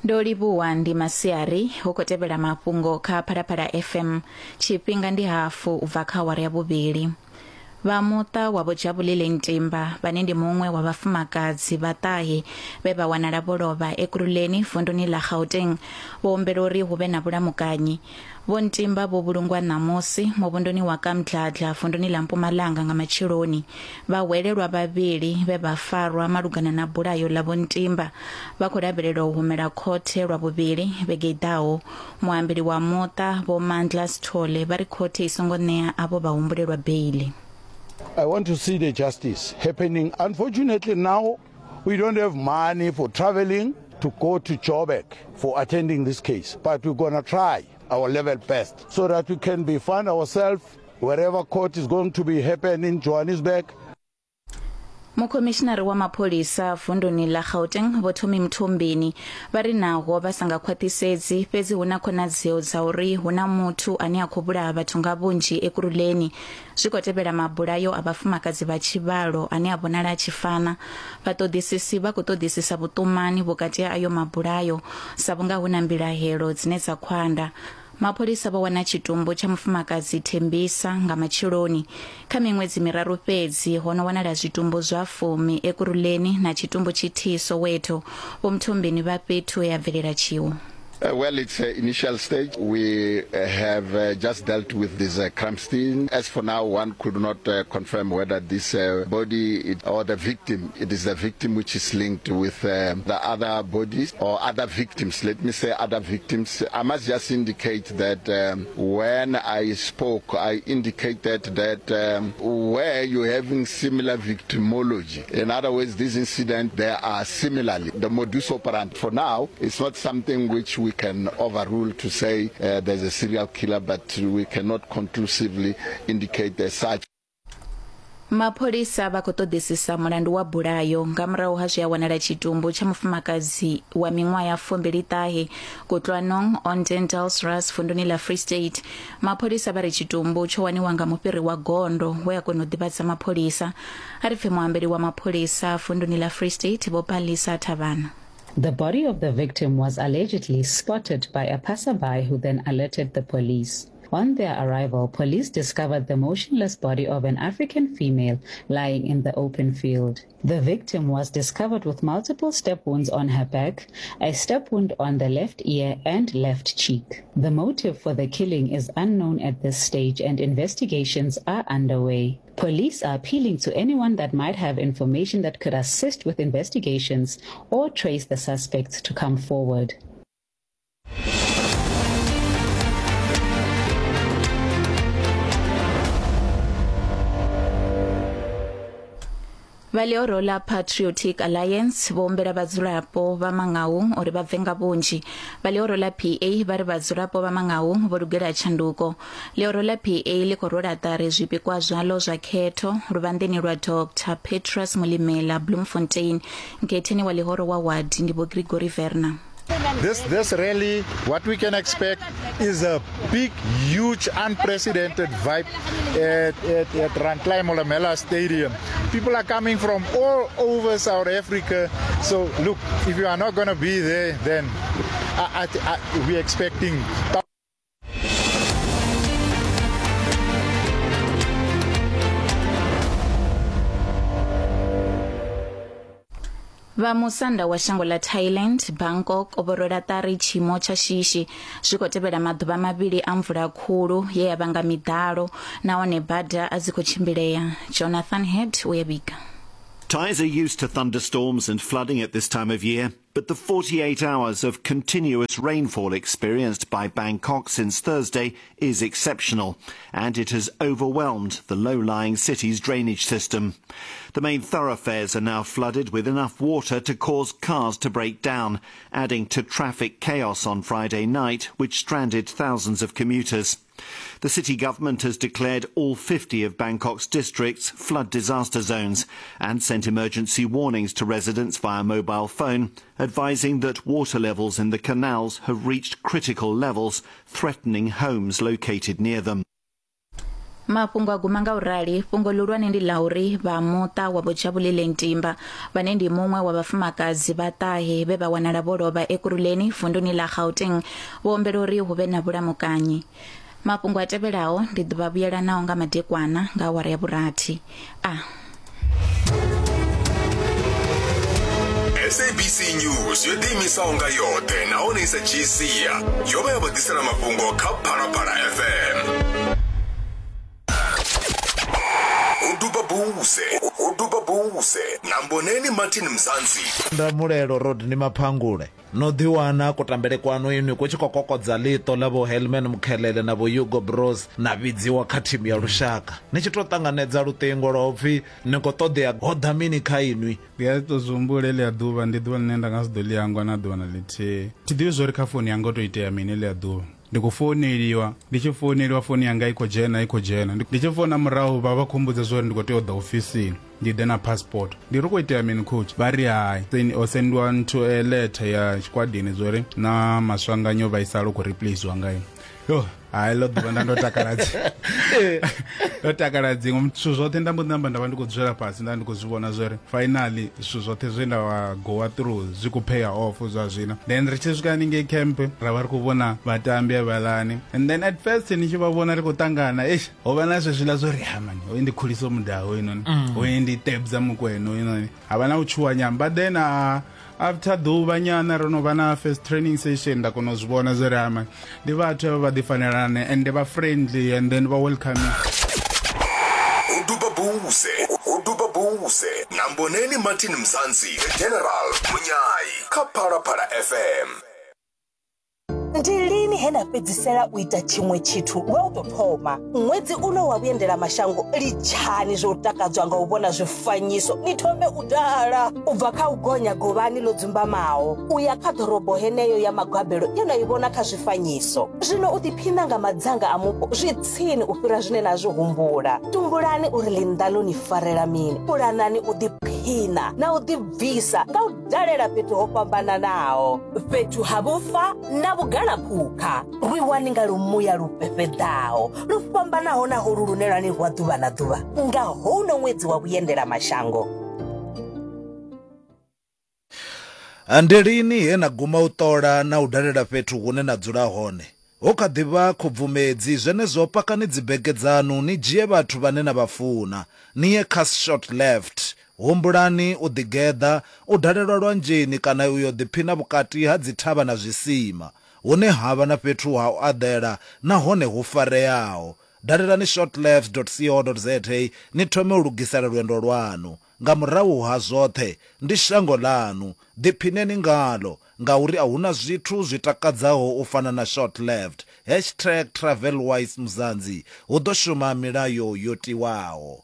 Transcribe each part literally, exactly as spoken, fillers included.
Ndo livhuwa ndi masiari hu khou tevhela mafhungo kha Phalaphala F M. Tshifhinga ndi hafu u bva kha awara ya vhuvhili. Vha muṱa wa Vho Jabulile Ntimba vhane ndi muṅwe wa vhafumakadzi vha ṱahe vhe vha wanala vho lovha Ekurhuleni vunduni ḽa Gauteng vho humbela uri hu vhe na vhulamukanyi. Vho Ntimba vho vhulungwa ṋamusi muvhunduni wa Kamdladla vunduni ḽa Mpumalanga nga matsheloni. Vhahwelelwa vhavhili vhe vha farwa malugana na bulayo ḽa Vho Ntimba vha khou lavhelelwa u humela khothe lwa vhuvhili vhege i ḓaho. Muambeli wa muṱa Vho Mandla Sithole vha ri khothe i songo ṋea avho vhahumbulelwa beili. I want to see the justice happening. Unfortunately, now we don't have money for traveling to go to Joburg for attending this case. But we're going to try our level best so that we can be find ourselves wherever court is going to be happening in Johannesburg. Mukhomishinari wa mapholisa vunduni ḽa Gauteng Vho Tommy Mthombeni vha ri naho vha sa nga khwaṱhisedzi fhedzi hu na khonadzeo dza uri hu na muthu ane a khou vhulaha vhathu nga vhunzhi Ekurhuleni. Zwi khou tevhela mabulayo a vhafumakadzi vha tshivhalo ane a vhonala a tshi fana. Vhaṱoḓisisi vha khou ṱoḓisisa vhuṱumani vhukati ha ayo mabulayo sa vhunga hu na mbilahelo dzine dza khwanda. Mapholisa vho wana tshitumbu tsha mufumakadzi Thembisa nga matsheloni. Kha miṅwedzi miraru fhedzi ho no wanala zwitumbu zwa fumi Ekurhuleni na tshitumbu tshithihi Soweto. Vho Mthombeni vha fhethu ya bvelela tshiwo. Uh, well, it's uh, initial stage. We uh, have uh, just dealt with this uh, crime scene. As for now, one could not uh, confirm whether this uh, body it, or the victim, it is the victim which is linked with uh, the other bodies or other victims. Let me say other victims. I must just indicate that um, when I spoke, I indicated that um, where you're having similar victimology. In other words, this incident, there are similarly. The modus operandi for now is not something which we can overrule to say uh, there's a serial killer, but we cannot conclusively indicate as such. Mapholisa vha khou ṱoḓisisa mulandu wa bulayo nga murahu ha zwi a wanala tshitumbu tsha mufumakadzi wa miṅwaha ya fumbili ṱahe Kutlwanong on Dendalsrus vunduni ḽa Free State. Mapholisa vha ri tshitumbu tsho waniwa nga mufhiri wa gondo we a kona u ḓivhadza mapholisa. A ri pfe muambeli wa mapholisa vunduni ḽa Free State Vho Palisa Thavhana. The body of the victim was allegedly spotted by a passerby who then alerted the police. On their arrival, police discovered the motionless body of an African female lying in the open field. The victim was discovered with multiple step wounds on her back, a step wound on the left ear and left cheek. The motive for the killing is unknown at this stage and investigations are underway. Police are appealing to anyone that might have information that could assist with investigations or trace the suspects to come forward. Vha ḽihoro ḽa Patriotic Alliance vho humbela vhadzulapo vha Mangaung uri vha bve nga vhunzhi. Vha ḽihoro ḽa P A vha ri vhadzulapo vha Mangaung vho lugela tshanduko. Ḽihoro ḽa P A ḽi khou rwela ṱari zwipikwa zwaḽo zwa khetho luvhanḓeni lwa Doctor Petrus Mulimela Bloemfontein. Nkhetheni wa ḽihoro wa ward ndi Vho Gregory Verner. This, this rally, what we can expect is a big, huge, unprecedented vibe at, at, at Rantlai Molemela Stadium. People are coming from all over South Africa. So, look, if you are not going to be there, then I, I, I, we're expecting Vha musanda wa shango ḽa Thailand, Bangkok, vho rwela ṱari tshiimo tsha shishi zwi khou tevhela maḓuvha mavhili a mvula khulu ye ya vhanga miḓalo nahone bada a dzi khou tshimbilea. Jonathan Head u ya vhiga. Thais are used to thunderstorms and flooding at this time of year, but the forty-eight hours of continuous rainfall experienced by Bangkok since Thursday is exceptional, and it has overwhelmed the low-lying city's drainage system. The main thoroughfares are now flooded with enough water to cause cars to break down, adding to traffic chaos on Friday night, which stranded thousands of commuters. The city government has declared all fifty of Bangkok's districts flood disaster zones and sent emergency warnings to residents via mobile phone, advising that water levels in the canals have reached critical levels, threatening homes located near them. Mafhungo a guma nga u rali. Fhungo ḽihulwane ndi ḽa uri vha muṱa wa Vho Jabulile Ntimba, vhane ndi muṅwe wa vhafumakadzi vha ṱahe vhe vha wanala vho lovha Ekurhuleni vunduni ḽa Gauteng, vho humbela uri hu vhe na vhulamukanyi. Mafhungo a tevhelaho ndi ḓo vha vhuyela nao nga madekwana nga awara ya vhurathi. A S A B C News yo ḓiimisaho nga yoṱhe nahone i sa dzhii sia, yo vha ya vha ḓisela mafhungo kha Phalaphala F M. Uduba buse, uduba buse, na Mboneni Martin Mzansi. Ndamulelo Rodney Maphangule no ḓiwana kutambele kwanu inwi ku tshi khou kokodza ḽiṱo ḽa vho Helman Mkhelele na vho Hugo Bros na vhidziwa kha thimu ya lushaka. Ni tshi tou ṱanganedza luṱingo lwa upfi ni khou ṱoḓea ho ḓa mini kha inwi? Ndi a tou zwi humbula heḽia ḓuvha, ndi ḓuvha ḽine nda nga si ḓo ḽi hangwa na ḓuvha na ḽithihi. Thi ḓivhi zwo ri kha founu yanga ho tou itea mini heḽia ḓuvha. Ndi khou founeliwa, ndi tshi founeliwa founu yanga i khou dzhena i khou dzhena. Ndi tshi founa murahu vha vha khou mmbudza zwa uri ndi khou tea u ḓa ofisini ndi ḓe na passport. Ndi ri khou itea mini coach? Vha ri hai, o sendiwa nthu letter ya tshikwadini zwo ri na Maswanganyo vhaisala u khou replacewa nga ine. Yo, hai ḽo ḓuvha nda ndo takala dzi. Ndo takala dziṅwe zwithu zwoṱhe nda mbo ḓi namba nda vha ndi khou dzula fhasi nda ndi khou zwi vhona zwori finally zwithu zwoṱhe zwe nda wa gowa through zwi khou pay off zwa zwino. Then ri tshi swika haningei camp ra vha ri khou vhona vhatambi havhalani, and then at first ni tshi vha vhona ri khou ṱangana, eish ho vha na zwezwiḽa zwo ri ha mani hoyu ndi Khuliso Mudau hoyunoni, hoyu ndi Tebza Mukwena hoyunoni, ha vha na u tshuwa nyana. But then uh, after ḓuvha nyana ro no vha na first training session nda kona u zwi vhona zwo ri ama ndi vhathu avha vha ḓi fanelana and vha friendly and then vha welcoming. Uduba buse, uduba buse na Mboneni Martin Mzansi, The General Munyai kha Phalaphala F M. Ndi lini he na fhedzisela u ita tshiṅwe tshithu lwa u tou thoma? Ṅwedzi uno wa vhuendela mashango, litshani zwo takadzwa nga u vhona zwifanyiso, ni thome u dala. U bva kha u gonya govhani ḽo dzumbamaho u ya kha ḓorobo heneyo ya magabelo ye na i vhona kha zwifanyiso. Zwino u ḓiphina nga madzanga a mupo zwi tsini u fhira zwine na zwi humbula. Tumbulani uri ḽinnḓa ḽo ni farela mini, pulanani u ḓiphina na u ḓibvisa nga u dalela fhethu ho fhambananaho, fhethu ha vhufa na vhugala phukha. Rwiwani nga lumuya lu fhefheḓaho lu fhambanaho na holu lune lwa ni rwa ḓuvha na ḓuvha nga houno ṅwedzi wa vhuendela mashango. Ndi lini he na guma u ṱola na u dalela fhethu hune na dzula hone? Ho kha ḓi vha khubvumedzi, zwenezwo pakani dzibege dzanu ni dzhie vhathu vhane na vha funa, ni ye kha Short Left. Humbulani u ḓigeḓa, u dalelwa lwanzheni kana u yo ḓiphina vhukati ha dzithavha na zwisima, hune ha vha na fhethu ha u aḓela nahone hu fareaho. Dalelani shortleft dot co dot za ni thome u lugisela lwendo lwanu. Nga murahu ha zwoṱhe, ndi shango ḽanu, ḓiphineni ngalo, ngauri a huna zwithu zwi takadzaho u fana na Short Left. Hashtag TravelWise Mzansi. Hu ḓo shuma milayo yo tiwaho.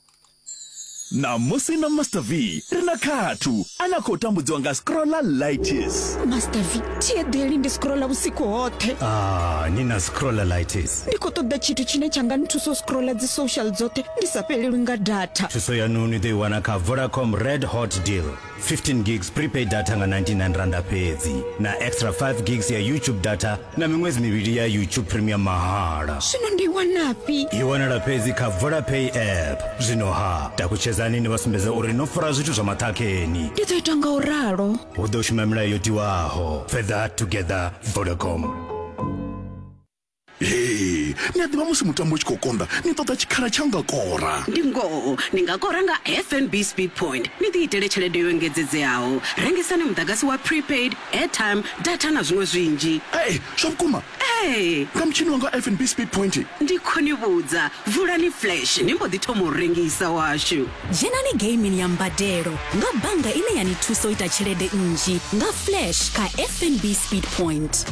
Namusi na Master V ri na khathu ana khou tambudziwa nga scrollalitis. Master V, thi eḓeli ndi scrolla vhusiku hoṱhe. Ah, ni na scrollalitis. Ndi khou ṱoḓa tshithu tshine tsha nga nthusa u scrolla dzi social dzoṱhe ndi sa fhelelwi nga data. Thuso yanu ni ḓo i wana kha Vodacom Red Hot Deal. fifteen gigs prepaid data nga ninety-nine randa fhedzi, na extra five gigs ya YouTube data na miṅwedzi mivhili ya YouTube Premium mahala. Zwino ndi wanafhi? I wanala fhedzi kha Vodapay app. Zwino ha takutshedzani ni vha sumbedza uri no fara zwithu zwa maṱhakheni. Ndi ḓo ita nga u ralo. Hu ḓo shuma milayo yo tiwaho. Further together, Vodacom. Hey, ni a ḓivha musi mutambo u tshi khou konḓa, ni ṱoḓa tshikhala tsha nga kora. Ndi ngoho, ni nga kora nga F N B Speed Point. Ni ḓi itele tshelede yo engedzedzeaho. Rengisani muḓagasi wa prepaid, airtime, data na zwiṅwe zwinzhi. Hey, zwa vhukuma? Ee. Nga mutshini wanga F N B Speed Point. Ndi khou ni vhudza, vulani flash ni mbo ḓi thoma u rengisa washu. Dzhenani gaming ya mbadelo nga bannga ine ya ni thusa u ita tshelede nnzhi nga flash kha F N B Speed Point.